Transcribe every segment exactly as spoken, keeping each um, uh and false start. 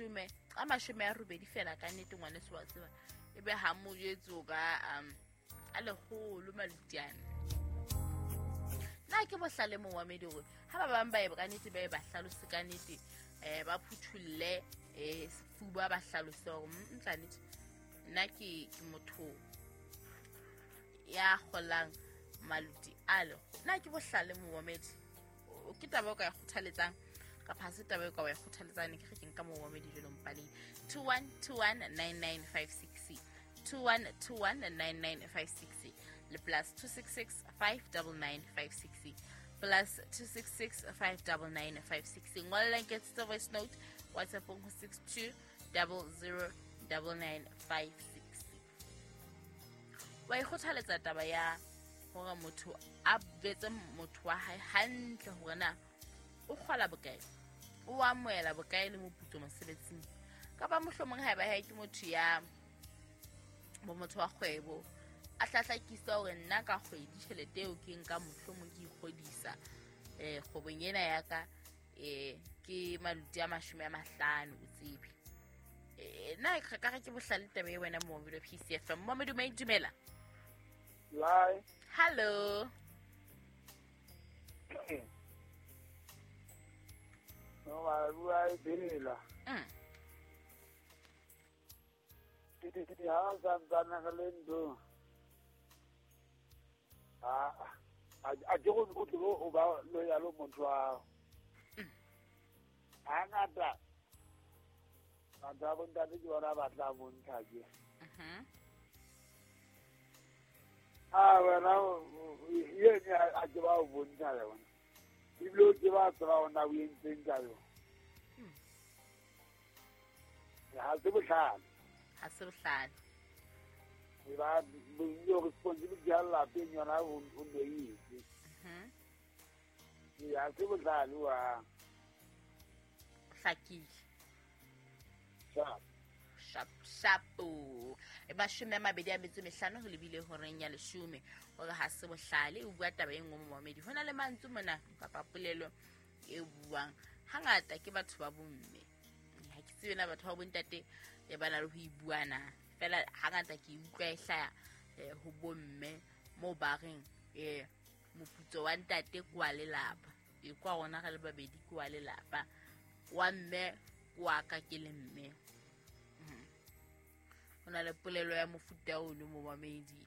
mashome a mashome a robedi fela ka nnete ngwaneso wa tseba ebe ha mo jwetse o ka um a lekgolo malutiana. Nna ke bohlale momamedi hore ha ba bang ba e ka nnete ba e ba hlalose ka nnete eh ba phuthulle eh sefuba ba hlalose hore ntla nnete nna ke ke motho ya kgolang maluti a lekgolo. Nna ke bohlale momamedi ke taba o ka e kgothaletsang kapa ha se taba e ka wa e kgothaletsang ke re ke nka momamedi jwalo mpaleng two one two one nine nine five six two one two one nine nine five six le plus two six six five nine nine five six plus two six six five nine nine five six. Ngolla nketsetsa voice note WhatsApp ho six two zero zero nine nine five six. Wa e kgothaletsa taba ya hore motho a betse motho wa hae hantle hore na o kgola bokae, o amohela bokae le moputso mosebetsing, kapa mohlomong haeba hae ke motho ya bo motho wa kgwebo a hlahlakisa hore nna ka kgwedi tjhelete eo ke nka mohlomong ke ikgodisa eh kgwebong ena ya ka eh ke maluti a mashome a mahlano o tsebe. Eh nna ka re ke bohlale taba e wena mo video P C F M. Momedi o dumela. Lai. Hello. No ba bua e bela. Mm. Di di di ha santsana re le ntho. A a ke go o tlo o ba lo ya lo motho wa. Ha ngata. Batho ba bontate ke bona ba tla bontsha ke. Mhm. Ah wena yena a ke ba o bontsha le bona. Ebile o ke ba tseba ona o entseng ka yona. Ha se bohlale. Ha se bohlale. E ba bo responsibility ya lapeng yona o o no itse. Mhm. Ya se bohlale wa. Hlakile. Sharp. Sharp shapo. E mashome a mabedi a metso mehlano ho lebile horeng ya leshome hore ha se bohlale o bua taba e nngwe momamedi. Ho na le mantswe mona kapa polelo e buang hangata ke batho ba bomme. Ha ke tsebe na batho ba bontate e ba na le ho e bua na. Fela hangata ke utlwa e hlaya ho bomme mo ba reng eh moputso wa ntate ke wa lelapa. E kwa rona re le babedi ke wa lelapa. Wa mme wa ka ke le mme. Ho na le polelo ya mofuta ono momamedi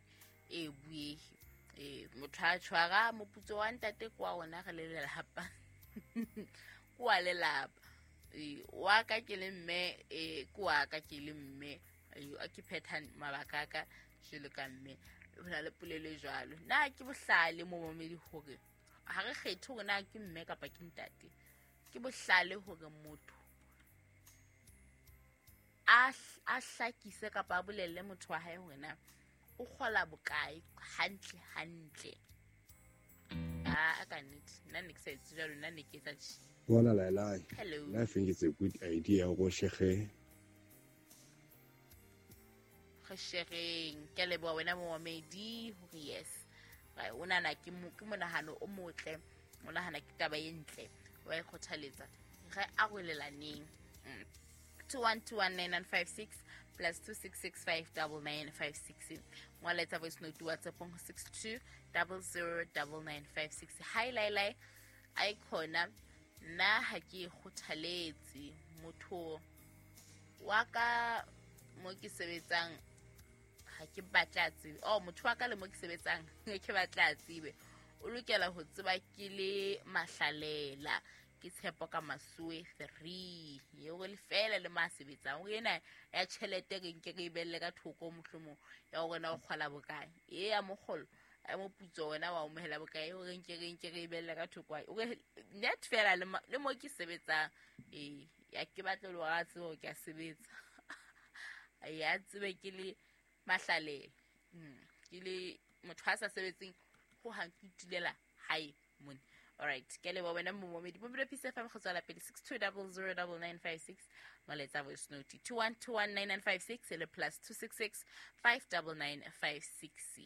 e buehe eh motho a tshwara moputso wa ntate kwa rona re le lelapa kwa lelapa e wa ka ke le mme e kwa ka ke le mme a ke phetha mabaka ka jelo ka mme. Ho na le polelo e jwalo. Na ke bohlale momamedi hore ha re kgethe hore na ke mme kapa ke ntate. Ke bohlale hore motho a a hlakise kapa a bolelle motho wa hae hore na o kgola bokae hantle hantle. Ah ka nnete nna ne ke sa etse jwalo, nna ne ke etsa tje. Bona Lailai. Hello. I think it's a good idea go shege. Re shereng ke leboha wena momamedi hore yes. O nahana ke ke monahano o motle, o nahana ke taba e ntle, wa e kgothaletsa. Re arolelaneng. Mm. two one two one nine nine five six plus two six six five nine nine five six. Ngwaletsa voice note WhatsApp ho six two zero zero nine nine five six. Hi Lailai, ai khona nna ha ke kgothaletse motho wa ka mo ke sebetsang ha ke batla tsebe. Oh motho wa ka le mo ke sebetsang ke batla tsebe. O lokela ho tseba ke le mahlalela. Ke tshepo ka Masoe three eo le fela le ma sebetsang o ena ya tjhelete re nke re ibelle ka thoko mohlomong ya hore na o kgola bokae e ya mokgolo a moputso wena wa amohela bokae o re nke re nke re ibelle ka thoko o re net fela le mo ke sebetsang e ya ke batla le wa tsebo ke a sebetsa ya tsebe ke le mahlalela ke le motho a sa sebetseng ho hang ke itulela hae mone. All right, ke leboha wena momamedi. Bophelo P C F M go tswela pele six two zero zero nine nine five six. Molaetsa voice note two one two one nine nine five six le plus two six six five nine nine five six.